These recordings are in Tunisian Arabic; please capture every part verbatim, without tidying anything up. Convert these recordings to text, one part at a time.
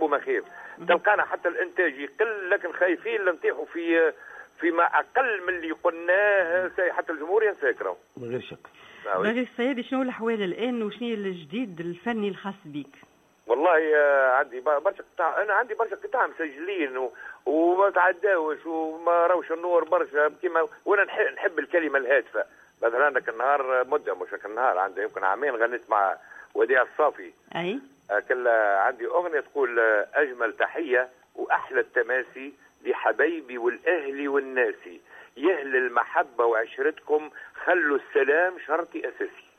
نحبوا ما خير. تلقانا حتى الانتاج يقل، لكن خايفين نطيحوا في فيما اقل من اللي قلناه، حتى الجمهور ينساك راهو. من غير شك. بلغيث الصيادي، شنو الاحوال الان وشنو الجديد الفني الخاص بك؟ والله عندي برشا قطع، انا عندي برشا قطع مسجلين و... وما تعداوش وما راوش النور برشا كيما، وانا نحب الكلمة الهادفة. مثلا ذاك النهار مده، مش ذاك النهار، عندي يمكن عامين، غنيت مع وديع الصافي. اي كل عندي اغنية تقول: اجمل تحية واحلى التماسي لحبايبي والاهل والناسي، يهل المحبة وعشرتكم خلوا السلام شرطي اساسي.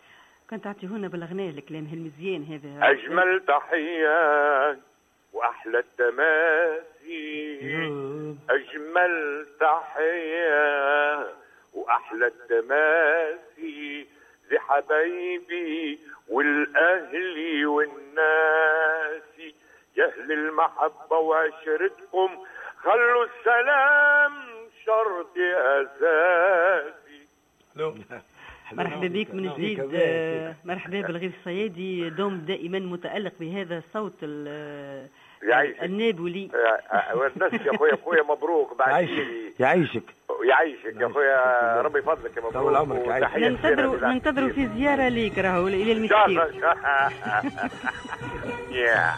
كنت تعطيهونا بالاغنيه الكلام المزيان هذا. اجمل تحية واحلى التماسي، اجمل تحية واحلى التماسي لحبايبي والاهل والناس، يا اهل المحبة وعشرتكم خلوا السلام شرط اساسي. مرحبا بك من جديد، مرحبا بالغيث الصيادي، دوم دائما متألق بهذا الصوت النابولي. والناس يا خويا، خويا مبروك بعد. يعيشك يعيشك. يعيشك يا خويا، ربي يفضلك يا مبروك. طول عمرك. ننتظروا ننتظروا في زيارة ليك راهو الى المستير. يا